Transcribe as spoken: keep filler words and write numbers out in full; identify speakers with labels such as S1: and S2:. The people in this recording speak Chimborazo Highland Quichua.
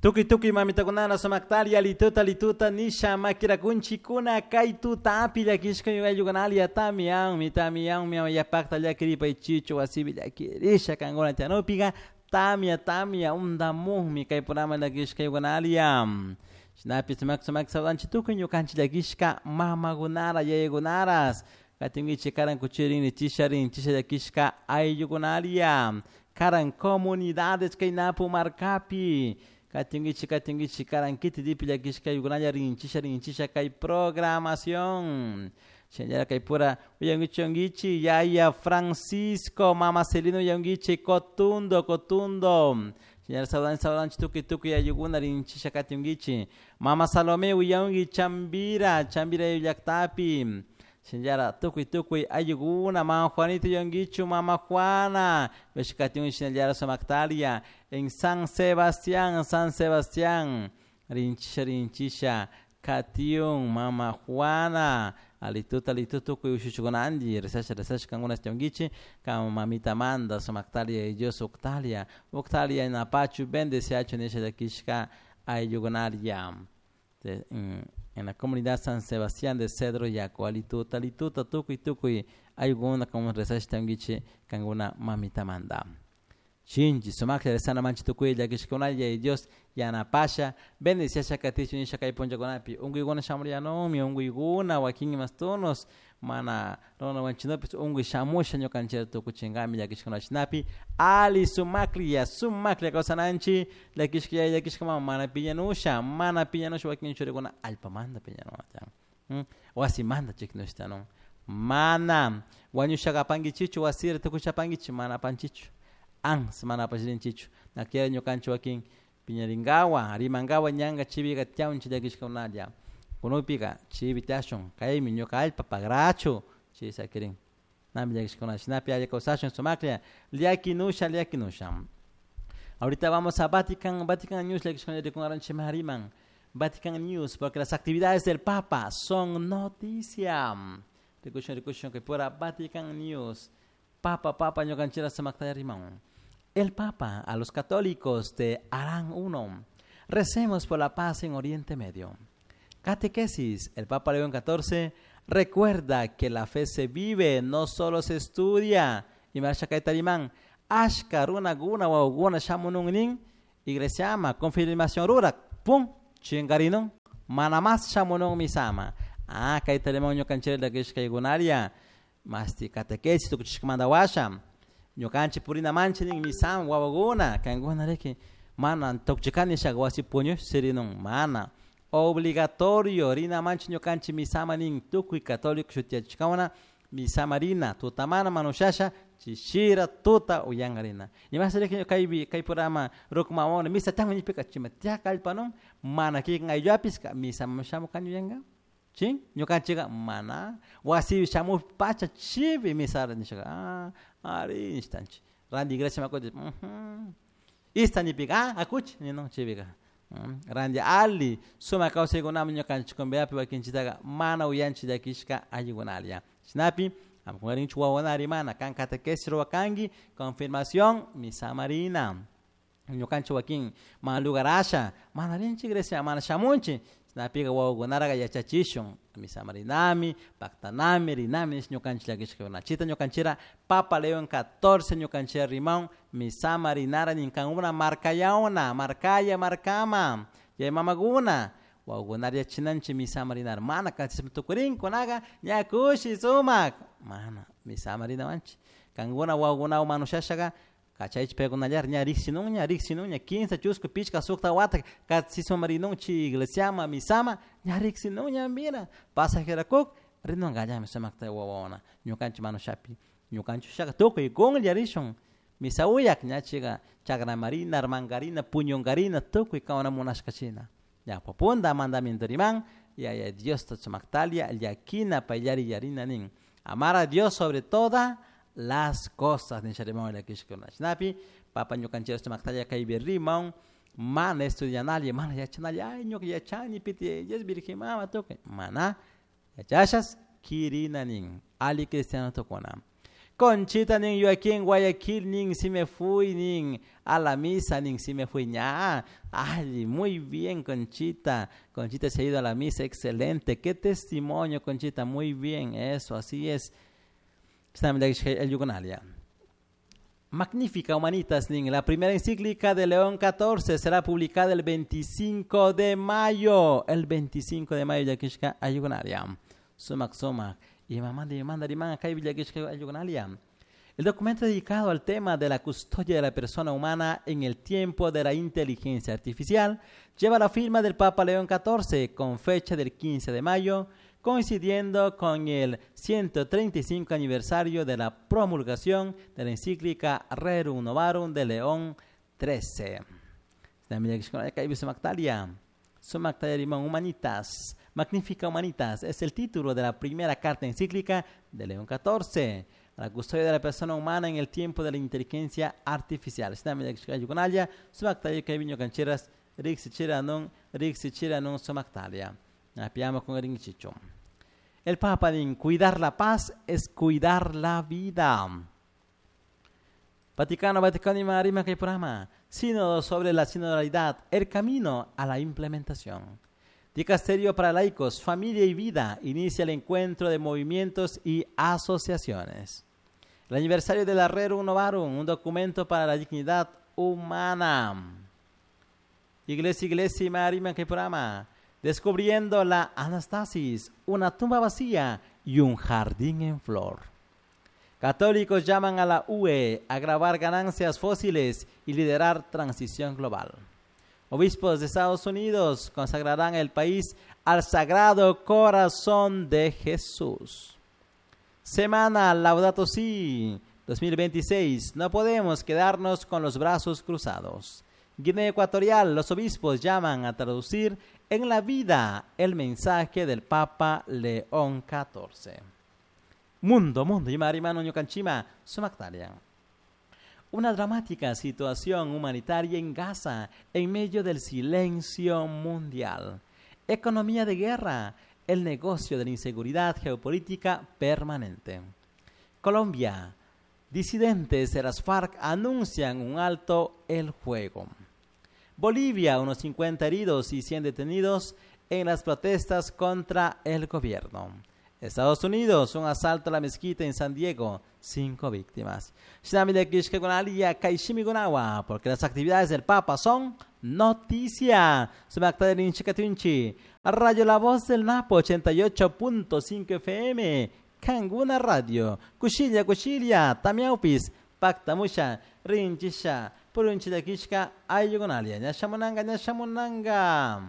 S1: Tukuy tukuy mamitakunana sumaktaria lituta lituta nisha makirakunchikuna kay tutapi llakishka ayllukunalia tamianmi tamianmi yapakta llakiripay chichu wasipi llakirisha kankuna tiyanupika tamia tamia undamukmi kay programa llakishka ayllukunalia shinapish sumak sumak saludanchik tukuy ñukanchik llakishka mamakunara yayakunaras katinkichik karan kuchirin chisharin chisha llakishka ayllukunalia karan comunidades kay Napu markapi katinkichik katinkichik karan kiti llakishka ayllukunalla rinchisha rinchisha kay programación shinallara kay pura uyankichunkichik yaya Francisco mama Celina uyankichik Cotundo Cotundo shinallara saludanchik saludanchik tukuy tukuy ayllukuna rinchisha katinkichik mama Salome uyanki Chambira Chambira llaktapi shinallara tukuy tukuy ayllukuna mama Juanito uyankichu mama Juana katinki shinallara sumaktalia en San Sebastián San Sebastián rinchisha rinchisha katiun mama Juana alituta alituta tukuy ushuchukunanti rezasha rezasha kankuna tiyankichik kan mamita manda sumaktalia y Dios uktalia uktalia napachu bendeciachu nisha llakishka ayllukunaria en la comunidad San Sebastián de Cedro Yaco alituta alituta tukuy tukuy ayllukuna como rezasha tiyankichik kankuna mamita manda Shinchi sumaklla rezana manchi tukuy llakishkunalla y Dios yanapasha bendiciasha katichu nisha kay punllakunapi unkuykuna shamuriyanunmi unkuykuna wakin imastunos mana runa wanchinopis unkuy shamusha ñukanchik tukuchinkami llakishkuna shinapi ali sumaklla sumaklla kawsananchik llakishka yaya llakishka mama mana piñanusha mana piñanusha wakin churikuna allpamanta piñanun wasimanta chiknushtanun mana wañushaka apankichikchu wasira tukusha apankichik mana apanchikchu ans mana apashirinchikchu nakiya ñukanchik wakin piñarinkawa rimankawa ñanka chivika tiyanchik llakishkakunalla kunupika chivi tiyashun kaymi ñuka allpa pagrachu chay sakirin nami llakishkuna shinapi alli kawsashun sumaklla llakinusha llakinusha. Ahorita vamos a Vatican, Vatican News llakishkuna rikunkaranchik riman Vatican News porque las actividades del Papa son noticia. Rikushun rikushun que pura Vatican News Papa Papa ñukanchira sumaktalla riman. El Papa a los católicos de Harán uno. Recemos por la paz en Oriente Medio. Catequesis. El Papa León catorce recuerda que la fe se vive, no solo se estudia. Y marcha kaitarimán. Ashka runa guna wawguna shamunungnin. Iglesia ama confirmación rura. Pum. Chingarinun. Mana más shamunung misama. Ah, kaitarimán ñukanchira llakishkaykunaria. Masti catequesis tukuchishkamanta washa. Ñukanchik purina manchi nin misama wawakuna kankuna riki mana tukchikani shaka wasi puñush sirinun mana obligatorio rina manchi ñukanchik misama nin tukuy católico shutiyachishkawna misama rina tutamana manushasha chishira tuta uyanka rina imas riki kaypi kay programa ruku mamawna misa tiyanmi nishpika chima tiyaka allpanun mana kikin aylluapis misama shamukani uyanka chin ñukanchika mana wasipi shamush pacha chipi misara nishaka ah ari nishtanchik ranti iglesia makuti ista nipika ah akuchi ninun chipika ranti ali sumak kawsaykunaman ñukanchik cumbiapi wakinchitaka mana uyanchik llakishka allikunalla shinapi amkunkarinchik wawakuna rimana kan catequesis ruwakanki confirmación misama rina ñukanchik wakin mana lugar asha mana rinchik iglesia mana shamunchik shinapika wawakunaraka yachachishun misama rinami paktanami rinami nish ñukanchik llakishkakuna chita ñukanchira Papa León catorce ñukanchira rimaun misama rinara ninkankuna markayawna markaya markama yaya mamakuna wawakunara yachinanchik misama rinara mana kachishpa tukurinkunaka ña kushi sumak mana misama rinawanchik kankuna wawakunawan manushashaka kachaychik paykunallar ña riksinunña riksinunña quince chusku pichka sukta wata katsisma rinun chay iglesiama misama ña riksinunña mira pasajerakuk rinunkallami sumakta wawawana ñukanchik manushapi ñukanchik ushaka tukuy kunlla rishun misa uyak ña chayka chakramarina armankarina puñunkarina tukuy kawana munashka china ña punda mandamiento riman yaya Diosta sumaktalia llakina payllari yarina nin amar a Dios sobre todas las cosas nisha rimawan llakishkuna shinapi papa ñukanchik sumaktalla kaypi rimawan mana estudianalla mana yachanalla ay ñuka yachani piti Dios virgen mama tukuy mana yachashas kirina nin ali cristiano tukuna. Conchita nin, yo aquí en Guayaquil nin, si me fui nin, a la misa nin, si me fui ña. Ay, muy bien, Conchita. Conchita se ha ido a la misa, excelente. Qué testimonio, Conchita, muy bien, eso, así es. Magnífica Humanitas nin, la primera encíclica de León catorce será publicada el veinticinco de mayo. El veinticinco de mayo, llakishka ayugunalia. Sumak, sumak. Y mamá de manda El documento dedicado al tema de la custodia de la persona humana en el tiempo de la inteligencia artificial lleva la firma del Papa León catorce con fecha del quince de mayo, coincidiendo con el ciento treinta y cinco aniversario de la promulgación de la encíclica Rerum Novarum de León trece. Humanitas. Magnífica Humanitas es el título de la primera carta encíclica de León catorce, a la custodia de la persona humana en el tiempo de la inteligencia artificial. El Papa dice, cuidar la paz es cuidar la vida. Vaticano, Vaticano y Marima que programa. Sínodo sobre la sinodalidad, el camino a la implementación. Dicasterio para laicos, familia y vida, inicia el encuentro de movimientos y asociaciones. El aniversario de la Rerum Novarum, un documento para la dignidad humana. Iglesia, Iglesia y Marima que programa. Descubriendo la Anastasis, una tumba vacía y un jardín en flor. Católicos llaman a la U E a gravar ganancias fósiles y liderar transición global. Obispos de Estados Unidos consagrarán el país al Sagrado Corazón de Jesús. Semana Laudato Si dos mil veintiséis. No podemos quedarnos con los brazos cruzados. Guinea Ecuatorial, los obispos llaman a traducir en la vida el mensaje del Papa León catorce. Mundo, mundo, Imarimano Ñucanchima, Sumactaria. Una dramática situación humanitaria en Gaza, en medio del silencio mundial. Economía de guerra, el negocio de la inseguridad geopolítica permanente. Colombia, disidentes de las FARC anuncian un alto el fuego. Bolivia, unos cincuenta heridos y cien detenidos en las protestas contra el gobierno. Estados Unidos, un asalto a la mezquita en San Diego, cinco víctimas. Porque las actividades del Papa son noticia. Radio La Voz del Napo, ochenta y ocho punto cinco F M, Canguna Radio, Cuchilla, Cuchilla, Tamiaupis, Pactamusha, Rinchisha, Purunchilakishka, Ayugonalia, Ñashamunanga, Ñashamunanga.